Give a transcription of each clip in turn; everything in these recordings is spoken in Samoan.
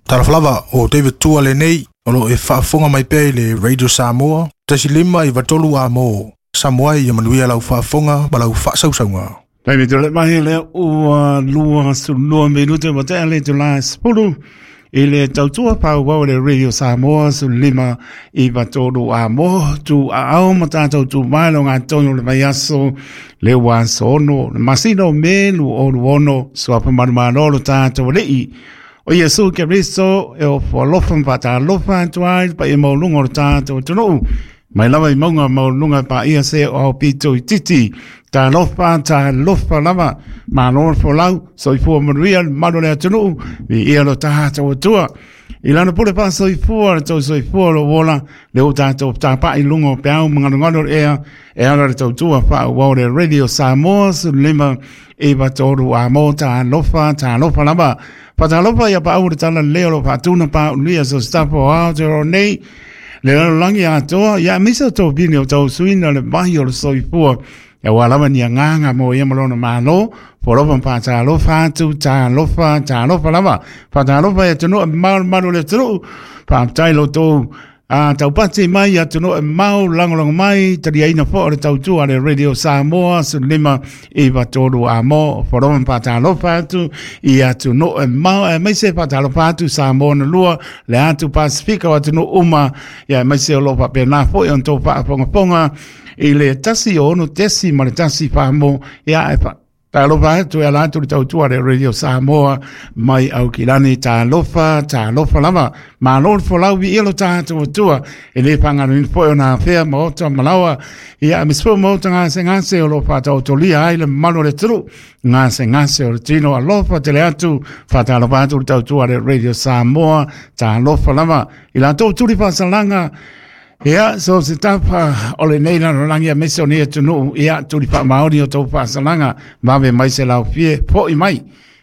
Talofa lava, o David Tua lenei, o lo o e faafofoga mai pea i le Radio Samoa, 1.5 93 A mo. Samoa ia manuia lau faafofoga ma lau faasausauga. Taimi tole mai lea ua 22 minute ua tea le itula e 10 i le tautua paauau le Radio Samoa 1593 A mo tu aao ma tātou tu mai lo ngā tonu le mai aso le ua aso 6 le masina o Me 2026 suafa manumalo lo tātou alii o Iesu Keriso e o folofa ma faatalofa atu ai le paia maualuga o le tātou atunuu mai lava i mauga maualuga paia se o ao pito i titi. Talofa, talofa lava, malo le folau, soifua manuia le mamalu o le atunuu, viia lo tatou Atua. I lana pule faasoifua le tou soifua o lo ola, le o tatou tapai i luga o peau ma galugalu o le ea, e ala le tautua faaauau le Radio Samoa 1593 A mo talofa, talofa lava. Faatalofa ia paau le tala leo lo faatuna pa ulia so staff o Aotearoa nei, le lalolagi atoa, ia aemaise o topini o tausuina le vai o le soifua. Ia ua lava ni agaga mo ia ma lona malo, folofa ma faatalofa atu, talofa, talofa lava. Faatalofa i atunuu e mamao le malu o le atunuu, faafetai lo outou a taupati mai atunuu e mamao lagolago mai, taliaina foi o le tautua a le Radio Samoa 1593 A mo, folofa ma faatalofa atu i atunuu e mamao, aemaise faatalofa atu Samoa na lua, le atu Pasifika o atunuu uma, ia aemaise o lo o faapena foi ona outou faafogafoga i le 106.1 famo, ia e talofa atu e ala atu le tautua le Radio Samoa mai Aukilani. Talofa, talofa lava, malo le folau, viia lo tatou Atua. E le faagaloina foi ona afea maota malaoa, ia aemaise foi maota gasegase o lo o faataotolia ai le mamalu o le atunuu, gasegase o le tino. Alofa tele atu, faatalofa atu le tautua le Radio Samoa. Talofa lava i latou tuli faasalaga. Ia, so se tapa o lenei lalolagi aemaise o nei atunuu, ia, tuli faamaoni o tou faasalaga, vave mai se laofie, fo'i mai.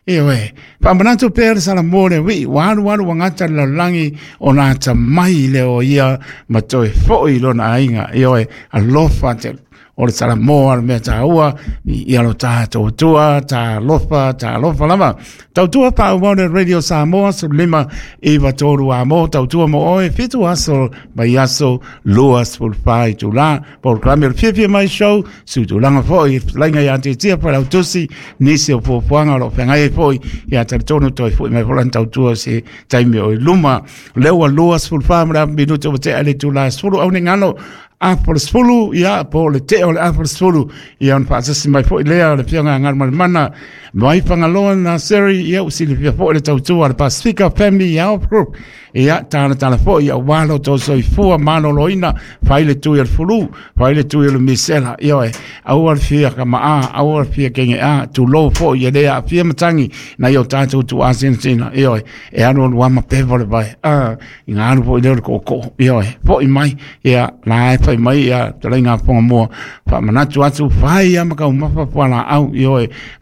Ioe, faamanatu pea le Salamo le uii, ua alu alu ua gata le lalolagi ona atamai lea o ia ma toe fo'i i lona aiga. Ioe, alofa tele. O le Salamo a le mea taua, i alo tātou Atua, talofa, talofa lava. Tautua paauau le Radio Samoa, 1593 A mo, tautua mo oe, 7 aso, mai aso, 24 itula. Polokalame o le Fiafia Mai Show, sutulaga foi, lainga ia te tia Failautusi, nisi o fuafuaga o lo o feagai ai foi, ia talitonu toe foi mai foi lana tautua se taimi o i luma. Lea ua 24 ma le minute ua tea le itula 10 au nei galo, afa o le 10, ia, po o le tea o le afa o le 10, ia ona faatasi mai foi lea o le Afioga Galumalemana mai Fagaloa na Seri, ia ua silafia foi le tautua a le Pasifika Family Health Group, ia talatala foi aua lo outou soifua maloloina, fai le tui o le fulu, fai le tui o le misela, ioe, aua le fia kamaa, aua le fia kege'a, tulou foi e le aafia matagi nai o tatou tuuasinasina, ioe, e alu alu ama pepa le vai, i ngā alu foi lea o le kookoo, ioe, foi mai, ia, la e fai mai, ia, talaiga a Fogamua, faamanatu atu, fai ama kaumafa fualaau, ioe.